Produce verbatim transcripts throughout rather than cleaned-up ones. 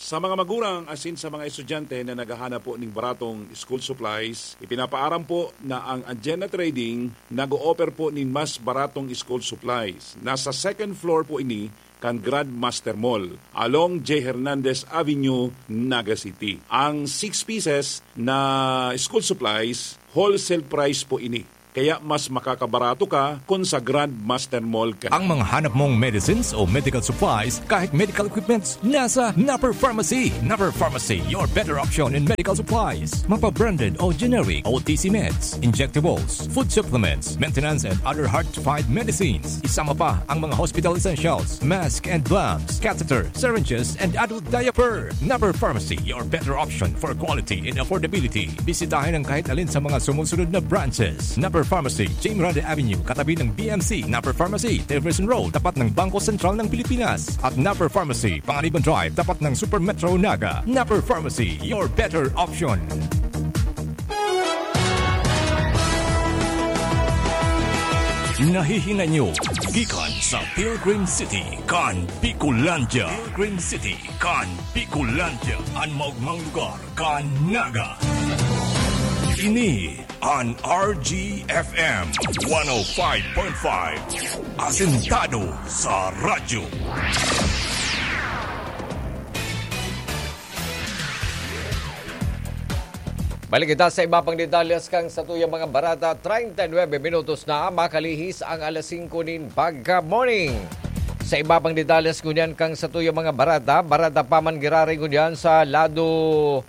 Sa mga magurang asin sa mga estudyante na naghahanap po ning baratong school supplies, ipinapaaram po na ang Agena Trading nag-o-offer po nin mas baratong school supplies. Nasa second floor po ini kan Grandmaster Mall, along J Hernandez Avenue, Naga City. Ang six pieces na school supplies, wholesale price po ini. Kaya mas makakabarato ka kun sa Grandmaster Mall ka. Ang mga hanap mong medicines o medical supplies, kahit medical equipments, nasa Napper Pharmacy. Napper Pharmacy, your better option in medical supplies. Mapa-branded o generic, O T C meds, injectables, food supplements, maintenance and other hard-to-find medicines. Isama pa ang mga hospital essentials, mask and gloves, catheter, syringes, and adult diaper. Napper Pharmacy, your better option for quality and affordability. Bisitahin ang kahit alin sa mga sumusunod na branches. Napper Pharmacy, Jim Grande Avenue, katabi ng B M C. Napper Pharmacy, Jefferson Road, tapat ng Bangko Sentral ng Pilipinas. At Napper Pharmacy, Panganiban Drive, tapat ng Super Metro Naga. Napper Pharmacy, your better option. Nahihinay nyo gikan sa Pilgrim City kan Bicolandia. Pilgrim City kan Bicolandia, an maogmang lugar kan Naga. Ini an R G F M one oh five point five. Asentado sa radyo. Balik kita sa iba pang detalles kan satuyang mga barata. Treinta y nueve minutos na makalihis ang alas singko nin pagka-morning. Sa iba pang detalles ngunyan kan satuyang mga barata, barata pa man giraray ngunyan sa lado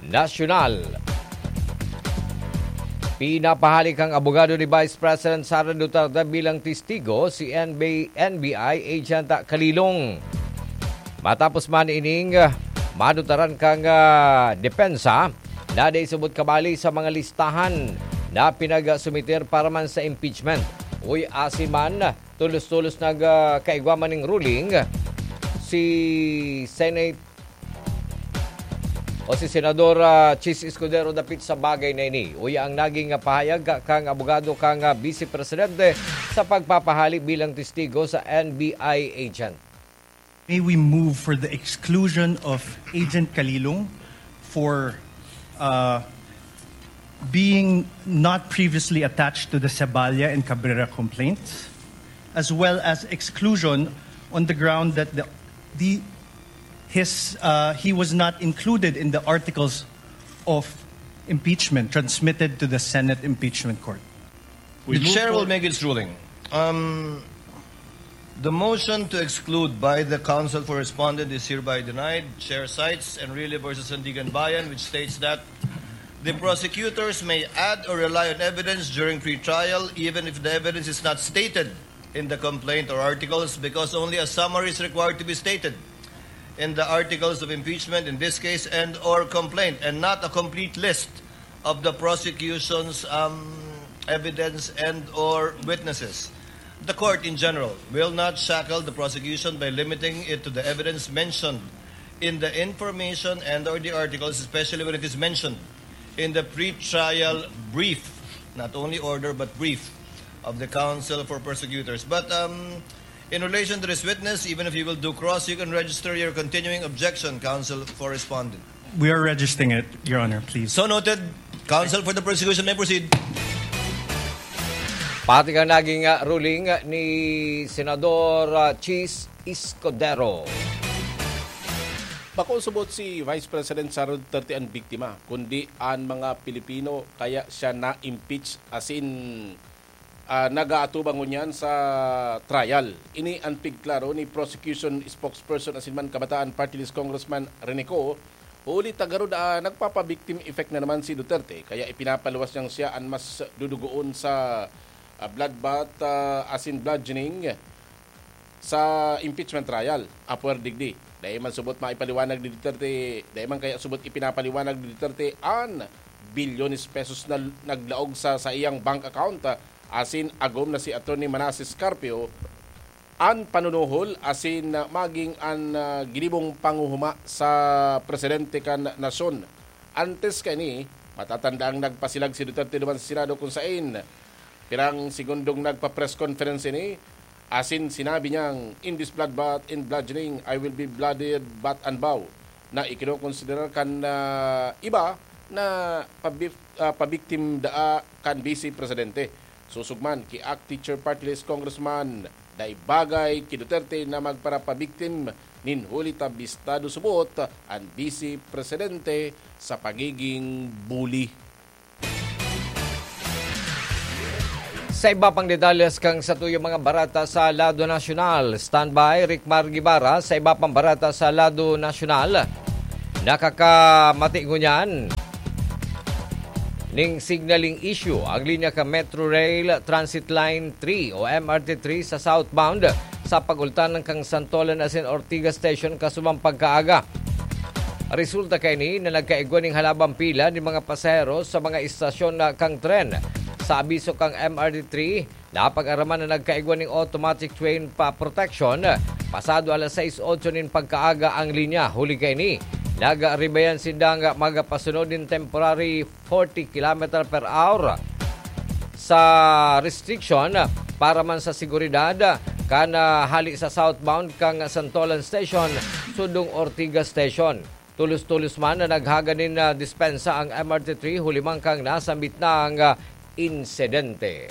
nasyonal. Pinapahali kan abogado ni Vice President Sara Duterte bilang testigo si N B, N B I agent Kalilong. Matapos man ining, ah, madutaran kan, ah, depensa na dai subot kabali sa mga listahan na pinagsumiter para man sa impeachment. Uy, asin man, tolos-tolos nag, ah, kaigwa man ning ruling si Senate o si Senador, ah, Chiz Escudero dapit sa bagay na ini. Uya ang naging, ah, pahayag ka-, kang abogado kang, ah, Vice Presidente sa pagpapahali bilang testigo sa N B I agent. May we move for the exclusion of Agent Kalilong for, uh, being not previously attached to the Seballa and Cabrera complaints, as well as exclusion on the ground that the, the, his, uh, he was not included in the articles of impeachment transmitted to the Senate Impeachment Court. We The move chair will forward. Make its ruling. Um, the motion to exclude by the counsel for respondent is hereby denied. Chair cites Enrile versus Sandiganbayan, which states that the prosecutors may add or rely on evidence during pretrial, even if the evidence is not stated in the complaint or articles, because only a summary is required to be stated in the articles of impeachment in this case and or complaint, and not a complete list of the prosecution's, um, evidence and or witnesses. The court in general will not shackle the prosecution by limiting it to the evidence mentioned in the information and or the articles, especially when it is mentioned in the pretrial brief, not only order but brief, of the counsel for prosecutors. But, um, in relation to this witness, even if you will do cross, you can register your continuing objection, counsel for respondent. We are registering it, Your Honor, please. So noted. Counsel for the prosecution may proceed. Pati kan naging, ah, ruling ni Senador, ah, Chiz Escudero. Bako subot si Vice President Sara Duterte an biktima, kundi an mga Pilipino, kaya siya na-impeach, asin, ah, nag-aatubang ngunyan sa trial. Ini an pigklaro ni prosecution spokesperson asin man Kabataan Party List Congressman Rene Co, huli ta garo, ah, nagpapa-victim effect na naman si Duterte, kaya ipinapaluwas niyang siya an mas dudugoon sa, ah, bloodbath, ah, asin bludgeoning sa impeachment trial. Apwer digdi, dai man subot maipaliwanag ni Duterte, dai man kaya subot ipinapaliwanag ni Duterte an bilyones pesos na naglaog sa saiyang bank account, ah, asin agom na si Attorney Manases Carpio an panunuhol asin, ah, maging an, ah, ginibong panguhuma sa presidente kan nasyon. Antes kaini, matatandaang nagpasilag si Duterte duman sa Senado, kung sain pirang segundong nagpa-press conference ini, asin sinabi niyang, "In this bloodbath and bludgeoning, I will be blooded but unbowed. na ikinokonsiderar kan, ah, iba na pabi-, ah, pabiktim daa kan Vice Presidente. Sosog man ki ACT Chair Party List Congressman, dai bagay ki Duterte na magparapabiktim nin huli ta bistado subot an Vice Presidente sa pagiging bully. Sa iba pang detalles kan satuyang mga bareta sa lado nasyonal, standby, Rickmar Guevara. Sa iba pang bareta sa lado nasyonal, nakakamati ngunyan ning signaling issue ang linya kan Metro Rail Transit Line three o M R T three sa southbound sa pagultanan kan Santolan asin Ortigas Station kasubang pagkaaga. Resulta kaini na nagkaigwa nin halabang pila nin mga pasahero sa mga istasyon na kan tren. Sa abiso kan M R T three, napag-araman na nagkaigwa nin automatic train pa protection. Pasado alas sais otso nin pagkaaga ang linya. Huli kaini, nagribayan sindang magapasunod nin temporary forty kilometer per hour sa restriction para man sa seguridad kan, ah, hali sa southbound kan Santolan Station sundong Ortigas Station. Tulos-tulos man na naghaga nin, ah, dispensa ang M R T three huli man kan nasambit nang, ah, insidente.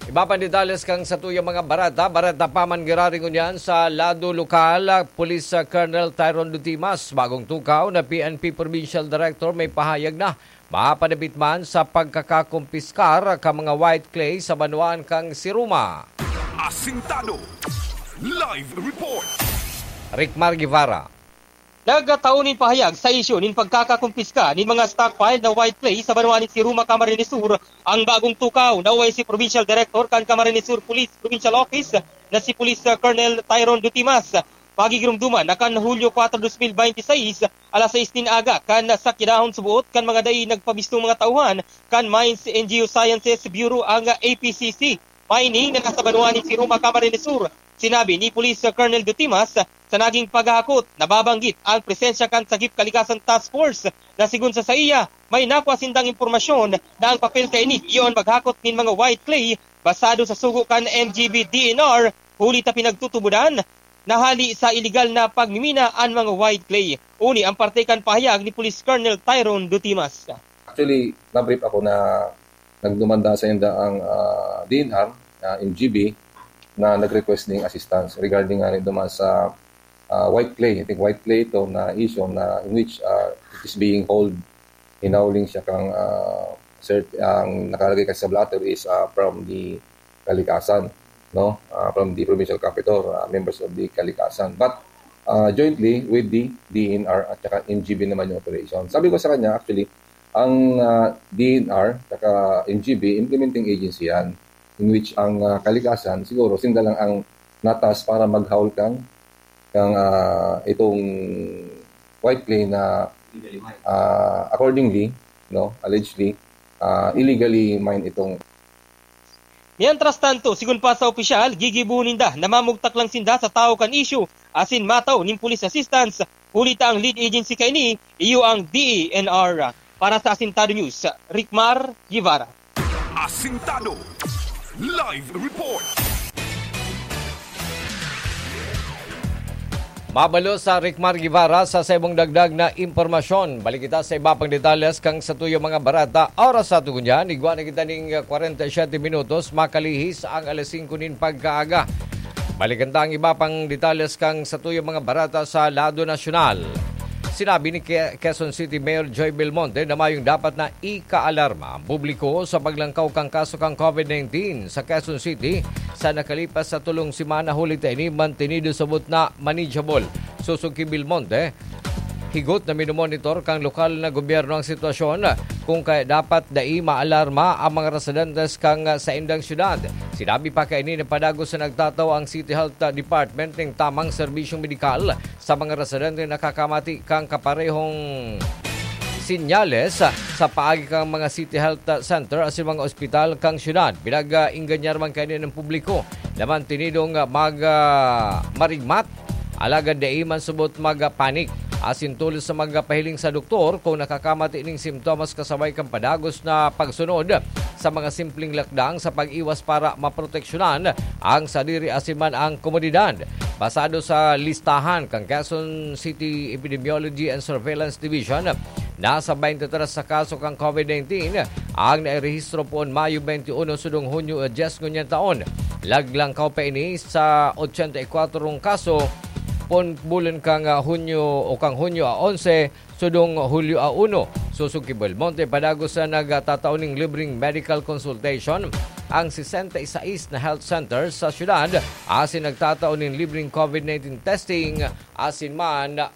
Iba pang detalles kan satuyang mga bareta. Bareta pa man giraray ngunyan sa lado lokal, Police Colonel Tyron Dutimas. Bagong tukaw na P N P Provincial Director may pahayag na mapadapit man sa pagkakakumpiskar kan mga white clay sa banwaan kan Siruma. Asintado. Live report. Rickmar Guevara. Nagtao nin pahayag sa isyu nin pagkakakumpiska nin mga stockpile na white clay sa banwa nin Siruma, Camarines Sur, ang bagong tukaw na O I C Provincial Director kan Camarines Sur Police Provincial Office na si Police, uh, Colonel Tyron Dutimas. Pagigirumduman na kan Hulyo kuwatro, dos mil bente seis, alas sais nin aga, kan sakyadahon suboot kan mga dai nagpabistong mga tauhan kan Mines and Geosciences Bureau, ang A P C C Mining, na nasa banwa nin Siruma, Camarines Sur. Sinabi ni Police Colonel Dutimas, sa naging paghahakot, nababanggit ang presensya kan Sagip Kalikasan Task Force na, sigon sa saiya, may nakua sindang impormasyon na ang papel kaini iyo an maghakot nin mga white clay basado sa sugo kan M G B D N R, huli ta pinagtutubodan na hali sa iligal na pagmimina an mga white clay. Uni ang parte kan pahayag ni Police Colonel Tyron Dutimas. Actually, na-brief ako na nagdumanda sa inda ang, ah, D N R, ah, M G B, na nag-request ning assistance regarding nga duman sa, ah, white clay. I think white clay ito na issue na in which, ah, it is being hauled, hinauling siya kang, ah, cert-, ang nakalagay kasi sa blotter is, ah, from the Kalikasan, no? Ah, from the provincial capital, ah, members of the Kalikasan. But, ah, jointly with the D N R at saka M G B naman yung operation. Sabi ko sa kanya, actually, ang, ah, D N R saka M G B, implementing agency yan, in which ang, ah, Kalikasan, siguro, sinda lang ang natas para maghaul kang, kang, ah, itong white clay na, ah, accordingly, no, allegedly, ah, illegally mine itong Mientras tanto, sigon pa sa opisyal, gigibohon ninda na mamugtak lang sinda sa tawo kan isyu asin matao nin police assistance, huli ta ang lead agency kaini iyo ang D E N R. Para sa Asintado News, Rickmar Guevara. Asintado. Live report. Mabalo sa Rickmar Guevara sa saimong dagdag na impormasyon. Balik kita sa iba pang detalles kan satuyang mga bareta. Oras sa tugon yan, igwa na kita ning kwarenta y siyete minutos, makalihis ang alas singko nin pagkaaga. Balikan ta ang iba pang detalles kan satuyang mga bareta sa lado nasyonal. Sinabi ni Ke-, Quezon City Mayor Joy Belmonte na mayong dapat na ikaalarma ang publiko sa paglangkaw kan kaso kan COVID nineteen sa Quezon City sa nakalipas sa tulong semana, huli ta ini mantenido sabot na manageable. Sosog ki Belmonte, higot na minomonitor kan lokal na gobyerno ang sitwasyon, kung kaya dapat dai maalarma ang mga residentes kan saindang syudad. Sinabi pa kaini na padagos na nagtataw ang City Health Department ning tamang serbisyong medikal sa mga residente na nakakamati kan kaparehong senyales sa paagi kan mga City Health Center asin mga ospital kan syudad. Pinag-ingganyar man kaini ng publiko na mantenidong mag-, ah, marigmat, alagad dai man subot magpanik asin tolos sa magpahiling sa doktor kung nakakamati ning simptomas kasabay kan padagos na pagsunod sa mga simpleng lakdang sa pag-iwas para maproteksyonan ang sadiri asin man ang komunidad. Basado sa listahan kan Quezon City Epidemiology and Surveillance Division, nasa twenty-three sa kaso kan COVID nineteen ang nairehistro poon Mayo twenty-one sudong Hunyo diyes ngunyan taon. Laglangkaw pa ini sa ochenta y kwatro kaso poon bulan kan, ah, Hunyo o kan Hunyo a onse sudong Hulyo a uno. Sosog ki Belmonte, padagos na nagtatao nin libreng medical consultation ang sesenta y seis na health center sa syudad asin nagtatao nin libreng COVID nineteen testing asin man